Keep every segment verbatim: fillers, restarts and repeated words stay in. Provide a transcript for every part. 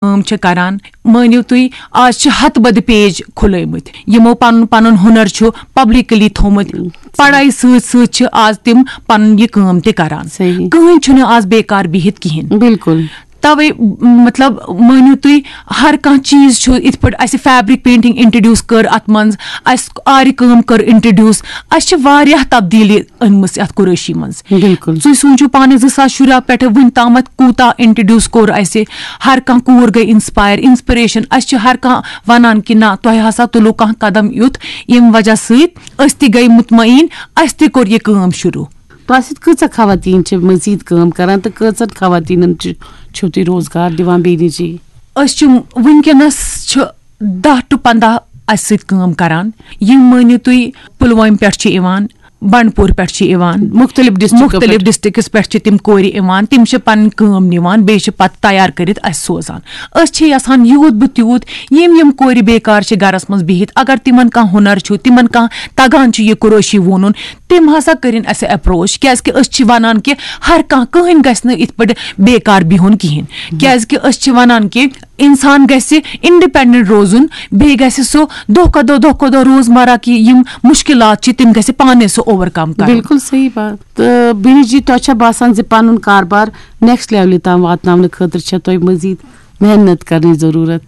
کٲم چھِ کران۔ مٲنِو تُہۍ، آز چھِ ہتہٕ بٔدِ پیج کھُلٲومٕتۍ، یِمو پنُن پنُن ہُنر چھُ پبلکلی تھوٚومُت۔ پڑھاے سۭتۍ سۭتۍ چھِ آز تِم پنُن یہِ کٲم تہِ کران۔ صحیح۔ کٕہٕنۍ چھُنہٕ آز بیکار بِہِتھ کِہیٖنۍ۔ بالکل۔ توے، مطلب، مٲنِو تُہۍ، ہر کانٛہہ چیٖز چھُ، یِتھ پٲٹھۍ اَسہِ فیبرک پینٹنگ انٹروڈیوس کٔر، اتھ منٛز اَسہِ آرِ کٲم کٔر انٹروڈیوس، اَسہِ چھِ واریاہ تبدیٖلی أنمٕژ یتھ قُرٲشی منٛز۔ بالکل۔ تُہۍ سوٗنٛچِو پانہٕ، زٕ ساس شُراہ پٮ۪ٹھٕ وُنہِ تامَتھ کوٗتاہ انٹروڈیوس کوٚر اَسہِ۔ ہر کانٛہہ کوٗر گٔے انسپایر، انسپریشن۔ اَسہِ چھِ ہر کانٛہہ وَنان کہِ نہ، تۄہہِ ہسا تُلو کانٛہہ قدم یُتھ، ییٚمہِ وجہ سۭتۍ أسۍ تہِ گٔے مطمئن، اَسہِ تہِ کوٚر یہِ کٲم شروٗع۔ تۄہہِ سۭتۍ کۭژاہ خواتین چھِ مزید کٲم کران تہٕ کۭژن خواتینن چھِ، چھِو تُہۍ روزگار دِوان بیٚیہِ نِجی؟ أسۍ چھِ وٕنکیٚنَس چھِ دَہ to پنٛداہ اَسہِ سۭتۍ کٲم کران، یِم مٲنِو تُہۍ پُلوامہِ پٮ۪ٹھ چھِ یِوان، بنڈپور پٮ۪ٹھ چھِ یِوان، مُختٔلِف ڈسٹرکٹو مُختٔلِف پٮ۪ٹھ۔ ڈسٹرکٹس پٮ۪ٹھ چھِ تِم کورِ یِوان، تِم چھِ پنٕنۍ کٲم نِوان، بیٚیہِ چھِ پتہٕ تیار کٔرِتھ اَسہِ سوزان۔ أسۍ چھِ یژھان یوٗت بہٕ تیوٗت یِم یِم کورِ بیکار چھِ گرس منٛز بِہِتھ، اگر تِمن کانٛہہ ہُنر چھُ، تِمن کانٛہہ تگان چھُ یہِ قُرٲشی وونُن، تِم ہسا کٔرِن اَسہِ اپروچ، کیازِ کہِ أسۍ چھِ ونان کہِ ہر کانٛہہ، کٕہٕنۍ گژھِ نہٕ یِتھ پٲٹھۍ بیکار بِہُن کِہیٖنۍ، کیازِ کہِ أسۍ چھِ ونان کہِ انسان گژھِ انڈیپینڈنٹ روزُن، بیٚیہِ گژھِ سُہ دۄہ کھۄتہٕ دۄہ، دۄہ کھۄتہٕ دۄہ روزمرہ کہِ یِم مُشکِلات چھِ، تِم گژھِ پانے سُہ اوور کم کرُن۔ بالکل صحیح بات۔ تہٕ بیٚنہِ جی، تۄہہِ چھا باسان زِ پنُن کاربار نیکسٹ لیولہِ تام واتناونہٕ خٲطرٕ چھےٚ تۄہہِ مزید محنت کرنٕچ ضروٗرت؟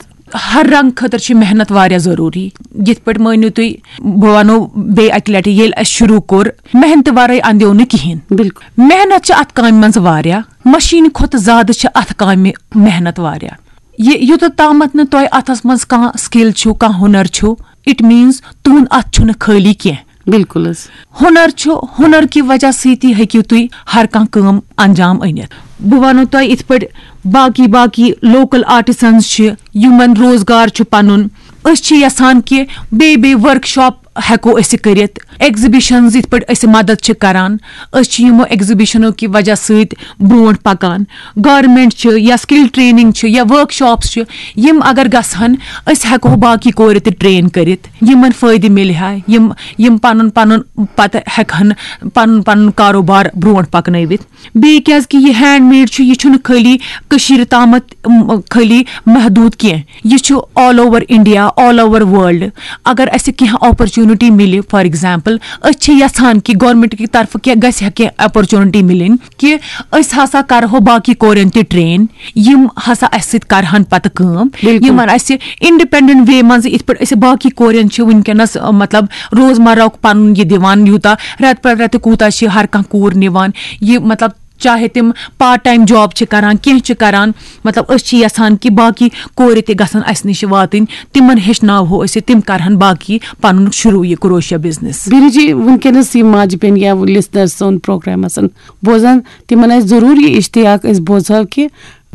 ہر رنگ خٲطرٕ چھِ محنت واریاہ ضروٗری۔ یِتھ پٲٹھۍ مٲنِو تُہۍ، بہٕ وَنو بیٚیہِ اَکہِ لَٹہِ، ییٚلہِ اَسہِ شروٗع کوٚر، محنتہٕ وَرٲے اَندیو نہٕ کِہیٖنۍ۔ بالکل۔ محنت چھِ اَتھ کامہِ منٛز واریاہ، مشیٖنہِ کھۄتہٕ زیادٕ چھِ اَتھ کامہِ محنت واریاہ۔ یہِ یوٚتَتھ تامَتھ نہٕ تۄہہِ اَتھَس منٛز کانٛہہ سِکِل چھُو، کانٛہہ ہُنر چھُو، اِٹ میٖنٕز تُہُنٛد اَتھ چھُنہٕ خٲلی کینٛہہ۔ بالکل حظ۔ ہُنر چھُ، ہُنر کہِ وجہ سۭتی ہیٚکِو تُہۍ ہر کانٛہہ کٲم انجام أنِتھ۔ بہٕ وَنو تۄہہِ یِتھ پٲٹھۍ باقی باقی لوکل آرٹسنز چھِ، یِمن روزگار چھُ پنُن۔ أسۍ چھِ یژھان کہِ بیٚیہِ بیٚیہِ ورک شاپ ہٮ۪کو أسۍ کٔرِتھ، ایگزیبِشنز یِتھ پٲٹھۍ أسۍ مدد چھِ کران، أسۍ چھِ یِمو ایگزیبِشنو کہِ وجہ سۭتۍ برونٛٹھ پکان۔ گورمنٹ چھِ یا سکل ٹریننگ چھِ یا ورک شاپس چھِ، یِم اگر گژھن، أسۍ ہٮ۪کو باقی کورِ تہِ ٹرین کٔرِتھ، یِمن فٲیدٕ مِلہِ ہا، یِم یِم پنُن پنُن پتہٕ ہٮ۪کہٕ ہن پنُن پنُن کاروبار برونٛٹھ پکنٲوِتھ۔ بیٚیہِ کیازِ کہِ یہِ ہینڈ میڈ چھُ، یہِ چھُنہٕ خٲلی کٔشیٖرِ تامَتھ، م، خٲلی محدوٗد کینٛہہ، یہِ چھُ all over India, all over world. اگر اَسہِ کینٛہہ اپرچونٹی مِلہِ، فار ایگزامپل، أسۍ چھِ یژھان کہِ گورنمنٹ کہِ طرفہٕ کینٛہہ گژھِ ہا، کینٛہہ اپرچونٹی مِلٕنۍ کہِ أسۍ ہسا کرہو باقی کورٮ۪ن تہِ ٹرین، یِم ہسا اَسہِ سۭتۍ کرہن پتہٕ کٲم، بالکل۔ یِمن اَسہِ انڈیپینڈنٹ وے منٛز یِتھ پٲٹھۍ أسۍ باقی کورٮ۪ن چھِ وٕنکیٚنس، مطلب، روزمرہ پنُن یہِ دِوان، یوٗتاہ رٮ۪تہٕ پتہٕ رٮ۪تہٕ کوٗتاہ چھِ ہر کانٛہہ کوٗر نِوان یہِ، مطلب، چاہے تِم پارٹ ٹایم جاب چھِ کران، کینٛہہ چھِ کران، مطلب، أسۍ چھِ یژھان کہِ باقی کورِ تہِ گژھن اَسہِ نِش واتٕنۍ، تِمن ہیٚچھناوہو أسۍ، تِم کرہن باقی پنُن شروٗع یہِ کروشیا بزنس۔ بیٚنہِ جی، وٕنکیٚنس یِم ماجہِ بیٚنہِ یا لسنر سون پروگرام آسن بوزان، تِمن آسہِ ضروٗر یہِ اشتیاق أسۍ بوزہو کہِ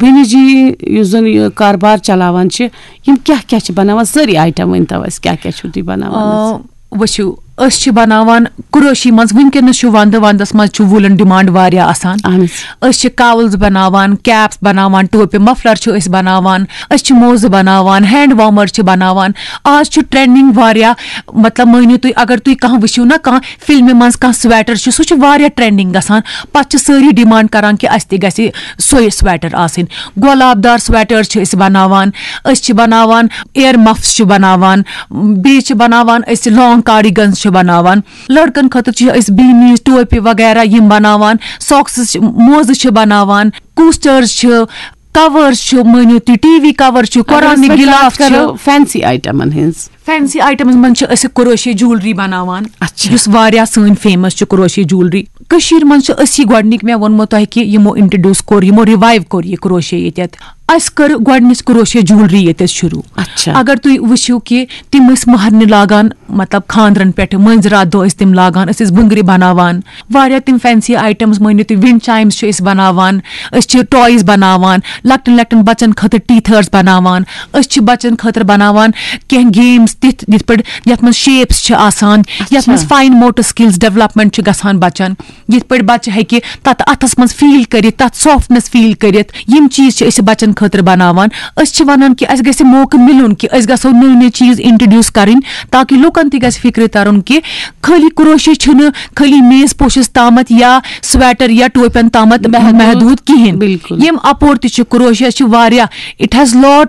بیٚنہِ جی یُس زن یہِ کاربار چلاوان چھِ، یِم کیٛاہ کیٛاہ چھِ بناوان؟ سٲری آیٹم ؤنۍ تو اَسہِ، کیٛاہ کیٛاہ چھِو تُہۍ بناوان حظ؟ آ، وٕچھِو، أسۍ چھِ بناوان کروشی منٛز، وٕنکیٚنس چھُ ونٛدٕ، ونٛدس منٛز چھُ ووٗلن ڈیمانڈ واریاہ آسان۔ اہن حظ۔ أسۍ چھِ کاولز بناوان، کیپس بناوان، ٹوپہِ مفلر چھِ أسۍ بناوان، أسۍ چھِ موزٕ بناوان، ہینڈ وارمر چھِ بناوان۔ آز چھُ ٹرینڈنگ واریاہ، مطلب، مٲنِو تُہۍ، اگر تُہۍ کانٛہہ وٕچھِو نا، کانٛہہ فلمہِ منٛز کانٛہہ سویٹر چھُ، سُہ چھُ واریاہ ٹرینڈنگ گژھان، پتہٕ چھِ سٲری ڈیمانڈ کران کہِ اَسہِ تہِ گژھِ سۄے سویٹر آسٕنۍ۔ گۄلاب دار سویٹر چھِ أسۍ بناوان، أسۍ چھِ بناوان ایر مفس چھِ بناوان، بیٚیہِ چھِ بناوان أسۍ لانگ کارڈیگنز چھِ بناوان۔ لڑکن خٲطرٕ چھِ أسۍ بیٖنیٖز، ٹوپہِ وغیرہ یِم بناوان، ساکسز چھِ، موزٕ چھِ بناوان، کوسٹرز چھِ، کورز چھِ، مٲنِو تُہۍ، ٹی وی کور چھِ، قرآنٕکۍ غلاف چھِ۔ فینسی آیٹمن ہٕنٛز۔ فینسی آیٹمز منٛز چھِ أسۍ کروشے جیولری بناوان، اچھا۔ یُس واریاہ سٲنۍ فیمس چھِ کروشے جیولری۔ کٔشیٖر منٛز چھِ أسی گۄڈٕنِکۍ، مےٚ ووٚنمو تۄہہِ کہِ یِمو انٹروڈیوس کوٚر، یِمو ریوایو کوٚر یہِ کروشے ییٚتٮ۪تھ۔ اَسہِ کٔر گۄڈٕنِچ کروشے جیولری ییٚتٮ۪تھ شروٗع۔ اچھا۔ اگر تُہۍ وٕچھِو کہِ تِم ٲسۍ مہرنہِ لاگان، مطلب، خانٛدرن پٮ۪ٹھ مٲنٛزِ راتھ دۄہ ٲسۍ تِم لاگان، أسۍ ٲسۍ بٕنٛگرِ بناوان، واریاہ تِم فینسی آیٹمز، مٲنِو تُہۍ، ونڈ چایمز چھِ أسۍ بناوان، أسۍ چھِ ٹایز بناوان، لۄکٹٮ۪ن لۄکٹٮ۪ن بچن خٲطرٕ ٹیتھرز بناوان، أسۍ چھِ بچن خٲطرٕ بناوان کینٛہہ گیمز تِتھ، یِتھ پٲٹھۍ یتھ منٛز شیپس چھِ آسان، یتھ اچھا۔ منٛز فاین موٹر سکلز ڈیولپمنٹ چھِ گژھان بچن، یِتھ پٲٹھۍ بچہِ ہیٚکہِ تتھ اتھس منٛز فیل کٔرِتھ، تتھ سافٹنس فیل کٔرِتھ۔ یِم چیٖز چھِ أسۍ بچن خٲطرٕ بناوان۔ أسۍ چھِ ونان کہِ اسہِ گژھِ موقعہٕ مِلُن کہِ أسۍ گژھو نٔوۍ نٔوۍ چیٖز انٹروڈیوس کرٕنۍ، تاکہِ لُکن تہِ گژھِ فکرِ ترُن کہِ خٲلی کروشے چھُنہٕ خٲلی میز پوشس تامتھ یا سویٹر یا ٹوپٮ۪ن تامتھ محدوٗد۔ محدوٗد کِہیٖنۍ۔ بالکل۔ یِم اپور تہِ چھِ، کروشے چھِ واریاہ، it has lot